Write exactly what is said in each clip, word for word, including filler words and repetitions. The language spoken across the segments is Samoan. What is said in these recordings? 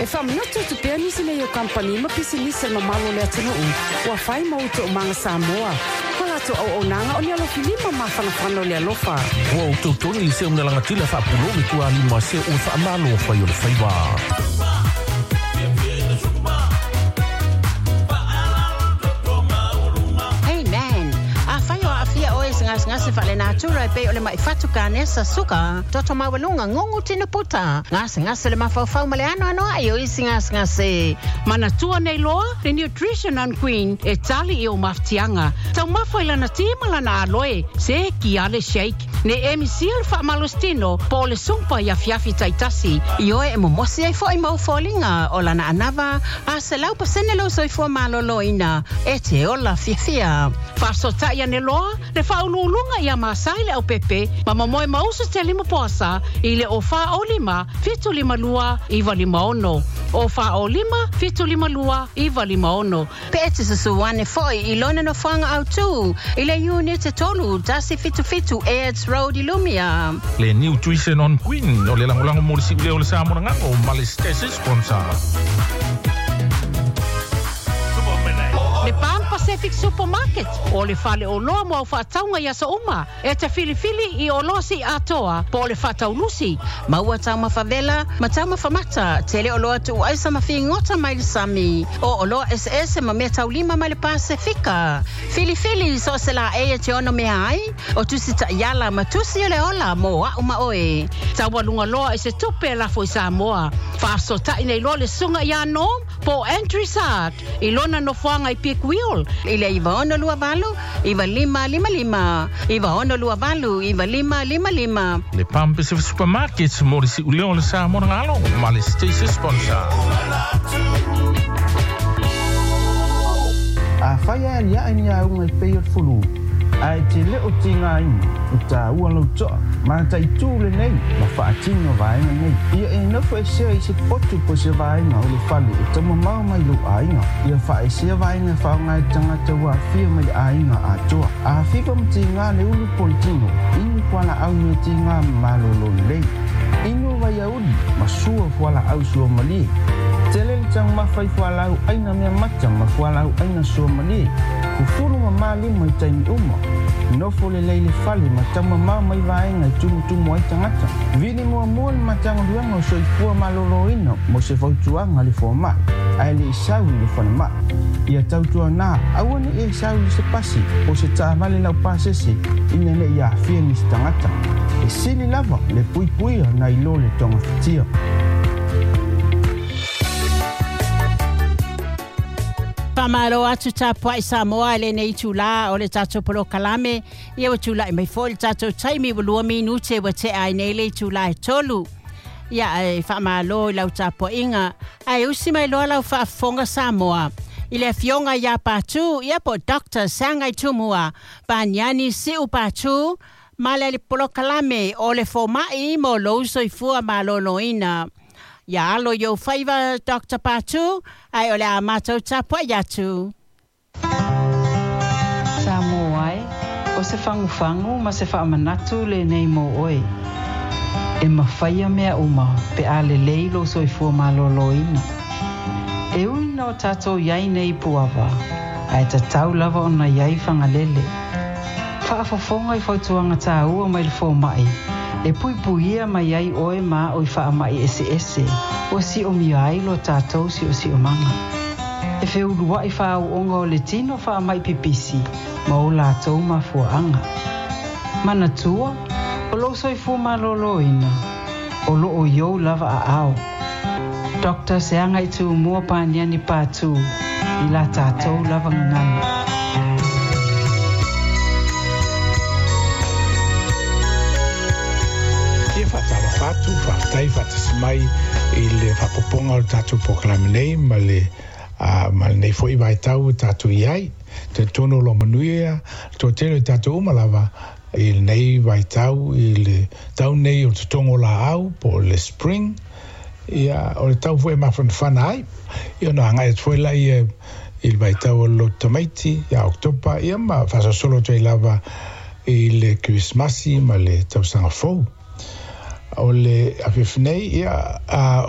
E whamanatu tu pea nisi nei o kampani ma pisinisi ma malo le atunuu ua fai ma uto o manga Samoa. Ma lato au o nanga o ni alofi lima mafanafana o le alofa. Ua o tautoni i se o mnalangatila whaapulo me tua lima se o whaamalo whai o le whaiwa. Hey man, a whai o afia oe se ngase ngase whale natura e pe o le mai whatu ka nesa suka toto mawalunga ngongu tino puta ngase ngase le mawhauwhau ma le ano ano ai o isi ngase ngase. Manatua nei loa, le Nutrition on Queen e tali i o maftianga. Tau mawhai lana tima lana aloe, se ki ale shake. Ne emi sia le whaamalostino, po le sumpa i afiafi taitasi. I oe e momosi ai fo i mau fōlinga o lana anava, a se lau pasene lo soifua malolo ina, e te ola fiafia. Whaasotai ane loa, le whaululunga ia masai le au pepe, ma mamoe mausu te lima poasa, i le o wha o lima, fitu lima lua, iwa lima ono. O wha o lima, fitu lima lua, iwa lima ono. Pe e te susuane foi i lona no whanga au tū, i le unit e tolu, tasi fitu fitu, Aids Road i Lumia. Le Nutrition on Queen, o le langolango mo le siuleo le Samoa ngango, ma le station sponsor. Le Pan Pacific Supermarket o le fale o loa mo au whaataunga ia sa uma e te filifili i o loa si atoa po o le whaataulusi. Maua tau mawhavela, ma tau mawhamata, te le o loa tu aisa mawhingota mai le sami, o o loa S S ma mea taulima mai le Pasifika. Filifili so se la e te ono mea ai, o tusi ta iala ma tusi o le ola mo au ma oe. Taualunga loa e se tupe lafo i Samoa. Whaasotai nei loa le sunga ia nom po Andrew Sark i lona nofoanga i Peak Wheel. I le iwa ono lua valu, iwa lima lima lima, iwa ono lua valu, iwa lima lima lima. Le Pan Pacific Supermarket mo le siuleo le Samoa ngalo, ma le station sponsor. A whai a lia ni a unga i pei o fulu, a e te leo ti ngā ina, o tā ua lau toa, ma tai tū le nei, ma whaatino vaenga nei. Ia e nofo e sea i se potu po se vaenga o le fale e tama mau mai lo ainga. Ia wha e sea vaenga whaonga e tangata ua whia mai le ainga a toa. A whipa mti ngā le ulu politino, inu kuala au me ti ngā malolo lei. Inu vai auli, ma sua fuala au sua malie. Tele le tang mawhai fualau aina mea mata ma fualau aina sua malie. Kufuru ma mali mai taimi uma. Nofo le leile fale ma tama mau mai vaenga i tumu tumu ai tangata. Vili mua mua le matanga luanga o soifua maloloina mo se fautuanga le fua mai. Ae le isau i le whana mai. Ia tautua nā, aua ne e isau i se pasi o se tāvale lau pasese ina ne ia awhia ni se tangata. E sili lava le puipuia na ilo le tonga fitia. Whamaro atu tā puai Samoa le nei tūlā o le tātou polo kalame. Ia wa tūlā i mai fo le tātou taimi wa lua minute wa te ai nei le tūlā e tolu. Ia e whamalo i lau tā poinga. Ai usi mai loa lau whaafonga Samoa. I le fionga ia pātū, ia po Doctor Sangai Tumua. Paniani siu pātū, ma le polo kalame o le fōmai mo lou soifua maloloina. Ia alo yo whaiva Doctor Patu, ai ole a mātou tāpua iatu. Samoa ai, o se whanguwhangu ma se whaamanatu le nei mō oe. E mawhaia mea uma pe a le leilo soifua maloloina. E ui no tātou iai nei puava, ai tatau lava ona iai whangalele. Whaafafonga i fautuanga tāua mai le fōmai, e puipuia mai ai oe ma o i whaamai ese ese, o si o mia ai lo tātou si o si o manga. E wheulua i whaau onga o le tino whaamai pipisi, ma o lātou mafuaanga. Manatua, o lo soifua maloloina, o lo o iou lava a ao. Doctor Seanga i tū mua pāniani pātū, i la tātou lava ngangana. Whātala whātu, whātai, whātasimai i le whapoponga o tātou pōkalame nei, ma le, uh, ma le nei foi vai tau tātou i ai. Te tono lo manuia, tō tēlo i tātou umalava i le nei vai tau, i le tau nei o te tongo la au, po le spring, ia, o le tau foi mawhanwhana ai. Ia no hangai at foi la ia i le vai tau o lo tamaiti, ia Oktopa, ia ma whasasolo tui lava i le Christmasi ma le tausanga fou. O le afiafi nei, ia,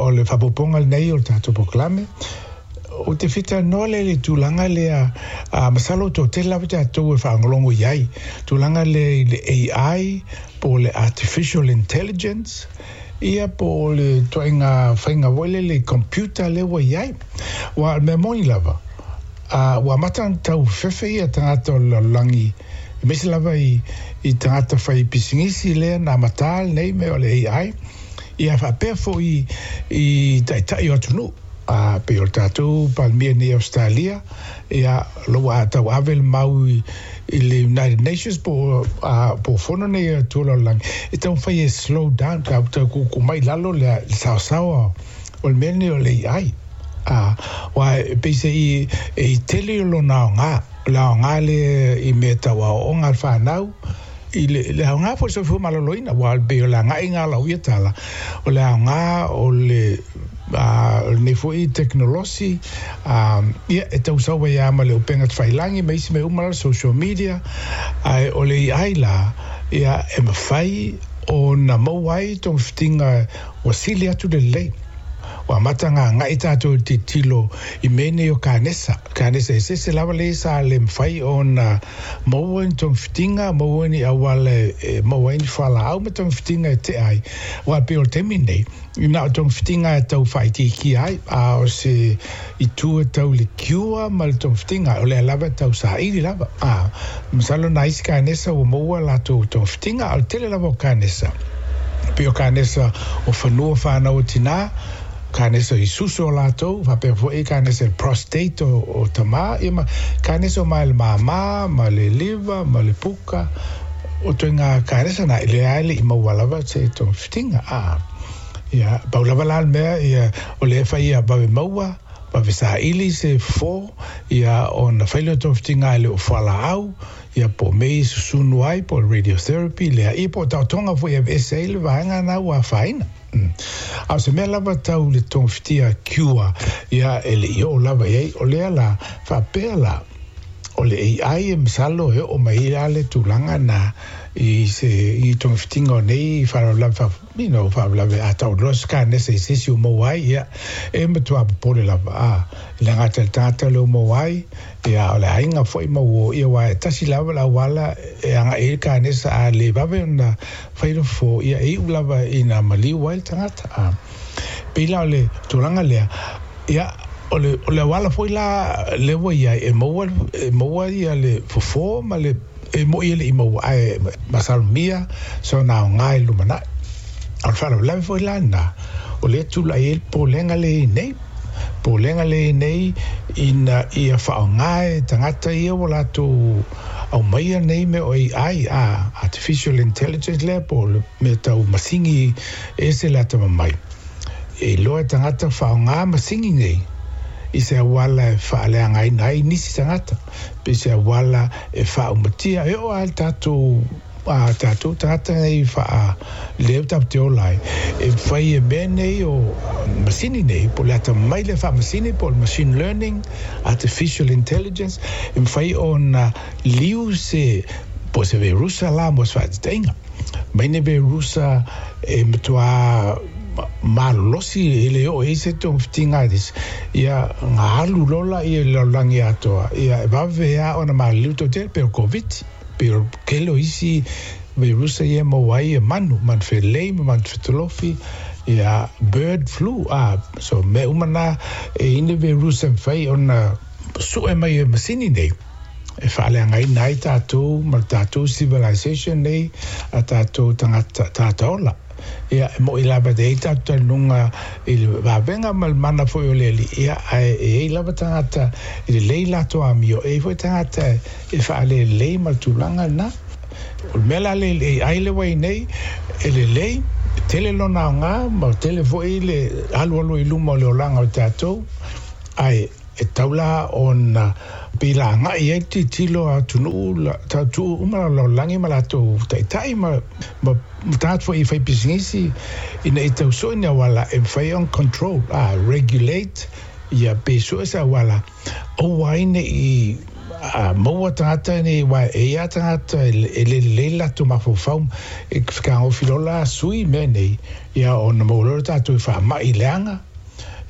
o le faaopoopoga lenei o le tatou polokalame, o te fitalanoa lea i le tulaga lea, masalo o toatele lava tatou e faalogologo i ai, tulaga lea i le A I po o le Artificial Intelligence, ia po o le ituaiga faiga foi lea le computer lea ua i ai. Ua o le mea moni lava, ua amata ona tau fefe ia tagata o le lalolagi, aemaise lava i i tagata fai pisinisi lea na amata lenei mea o le A I, ia faapea foi i taitai o atunuu. A pei o le tatou Palemia nei Australia, ia lo ua tau ave le mau i le United Nations po po fono nei atua o le lalolagi, e taumafai e slow down, tau tuutuu mai lalo le saosaoa o le mea lenei o le A I. A ua e pei se i e tele o lona aoga, o le aoga lea i mea tau aoaoga a le fanau, i le, le aoga foi soifua maloloina, ua pei o le agaiga a lau ia tala, o le aoga o le lenei foi teknolosi, ia e tausau ai lava ma le upega tafailagi ma isi mea uma la social media, ae o le A I la, ia e mafai ona maua ai togafitiga ua sili atu le lelei. Ua amata gaga'i tatou i le tilotilo i mea nei o kanesa. Kanesa eseese lava lea sa le mafai ona maua ni togafitiga, maua ni auala e maua ai ni fualaau ma togafitiga e tea ai. Ua pei o le taimi lenei, na o togafitiga e tau faaitiitia ai, a o se itu e tau le cure ma le togafitiga, o lea lava e tau saili lava. A, masalo nai isi kanesa ua maua latou togafitiga, a o le tele lava o kanesa. Pei o kanesa o fanua fanau o tinā, kanesa i susu o latou, faapea foi kanesa i prostate o, o tamā, ia ma kanesa o mai le māmā, ma le liver, ma le puka, o ituaiga kanesa na, lea e le'i maua lava se togafitiga. A, ia, pau lava la le mea, ia, o lea e fai ia vave maua, vave saili se fofo, ia, ona fai lea o togafitiga e le o fualaau, ia po o mea i susunu ai, po o le radiotherapy, lea, ia po o taotoga foi e aveese ai le vaega na ua afaina. A o se mea lava tau le togafitia cure, ia e le'i oo lava i ai, o lea la, faapea la, o le A I e masalo e oo mai ai le tulaga na i se i togafitiga o nei faalavelave fa, you know, faalavelave a tau loa se kanesa i se isi ua maua ai, ia e matuā popole lava, a e le gata i le tagata lea ua maua ai, ia o le aiga foi ma ua ia ua e tasi lava le auala e aga'i ai le kanesa, a le vave ona fai le fofo, ia e iu lava ina maliu ai le tagata. A pei la o le tulaga lea, ia o le o le auala foi la lea ua i ai e maua e maua ia le fofo ma le e mo'i e le'i maua ae masalomia sona aoga i le lumanai. A o le faalavelave foi la lena, o lea tula'i ai le popolega lea i nei, popolega lea i nei ina ia faaaoga e tagata ia ua latou aumaia nei mea o A I, a Artificial Intelligence lea po o le mea tau masini ese le atamamai. E iloa e tagata faaaoga masini nei i se auala e faaleagaina ai nisi tagata, pe se auala e faaumatia e oo lava i le tatou a tatou tagata nei faa lea tatou te ola ai, e fai e mea nei o masini nei, po o le atamamai lea faamasini, po o le machine learning, artificial intelligence, e mafai ona liu se po o se verusa la mo se faataitaiga. Mai ni verusa e matuā malolosi e le oo ai se togafitiga ia ga alu loa laia i le lalolagi atoa, ia e vave lava ona maliliu toatele, pei o le Koviti, pei o le tele o isi verusa ia e maua ai e manu, manu felelei ma manu fetolofi, ia bird flu, a so mea uma na e i ai ni verusa e mafai ona sue mai e masini nei e faaleagaina ai tatou ma le tatou civilization nei a tatou tagata tagata ola. Ia e mo'i lava e ai tatou talanoga i le vavega ma le mana foi o le alii, ia ae e ai lava tagata e lelei latou amio, e ai foi tagata e faalelelei ma le tulaga lena. O le mea la le A I le ua i nei, e lelei, tele lona aoga ma tele foi le alualu i luma o le olaga o tatou, ae e tau la ona pei la aga'i ai le tilotilo a atunuu taotuu uma la lalolagi ma latou taitai ma ma tagata foi i fai pisinisi ina ia tau sue ni auala e mafai ona control, a regulate, ia pe sue se auala aua ai ne'i a maua tagata nei uā e ia tagata e lelelei le latou mafaufau e fekagofi loa la sui mea nei ia ona maua loa le tatou i faama'i leaga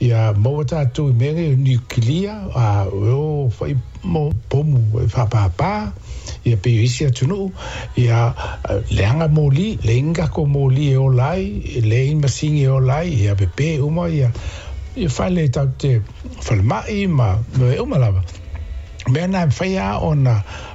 ia maua tatou i mea nei o niukilia a o fo'i mo pomu e faapāpā ia pei o isi atunuu ia leaga moli leai ni tatou moli e ola ai leai ni masini e ola ai ia pepē uma ia ia fale tatou te falema'i ma mea uma lava mea na e mafai lava ona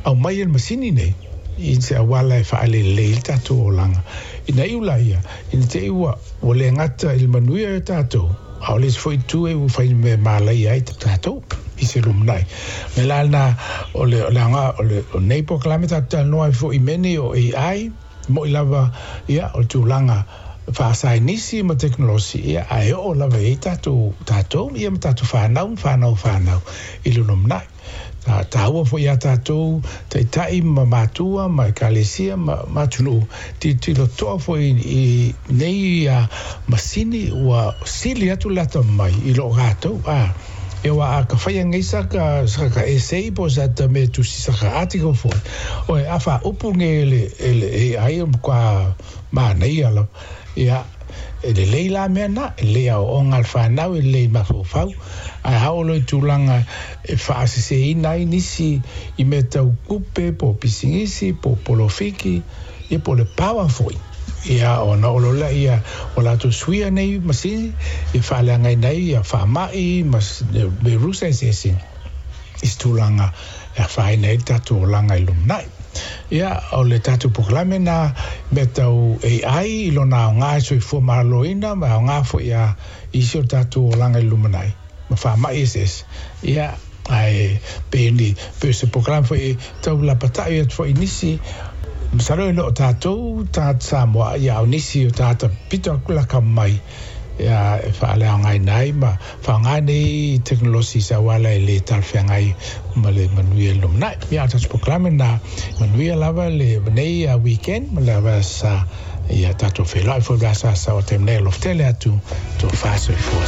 aumai e le masini nei i se auala e faalelelei ai le tatou olaga ina iu laia ina te i ua ua le gata i le manuia o tatou a o le isi foi itu e ua fai mea malaia ai tatou i se lumanai me la lena o le o le aoga o le o nei polokalame tatou talanoa ai foi i mea nei o A I mo'i lava ia o le tulaga faasainisi ma tekonolosi ia ae oo lava i ai tatou tatou ia ma tatou fanau ma fanau fanau i le lumanai taua foi iā tatou taitai ma matua ma ekalesia ma ma atunuu tilotilo totoa foi i nei ia masini ua sili atu le atamamai i loo tatou a e uā a ka faia nei saka saka essay po o sata mea tusi saka article foi oe a faaupu nei e le e le A I o matua manaia lava ia e lelei la mea na e lelei aoaoga a le fanau e lelei mafaufau ae a oo loa i tulaga e faasesēina ai nisi i mea tau tupe po o pisinisi po o polofiki ia po o le power foi ia ona oo loa lea ua latou suia nei masini e faaleagaina ai ia faama'i ma merusa eseese i se tulaga e afaina ai le tatou olaga i lumanai. Ia, o le tatou polokalame na mea tau A I i lona aoga e soifua maloloina ma aoga foi ia isi o le tatou olaga i le lumanai ma faama'i eseese. Ia, ae pei ni pei o se polokalame foi e tau lapata'i atu foi i nisi masalo e le o tatou tagata Samoa ia a o nisi o tagata pito atu laka mai ia e faaleaogaina ai ma faaaoga nei tekonolosi i se auala e lē talafeagai ma le manuia i le lumanai. Ia o le tatou polokalame lena manuia lava lenei weekend ma le vasa ia tatou feiloai foi le aso asa o taimi nei alofa tele atu tofa soifua.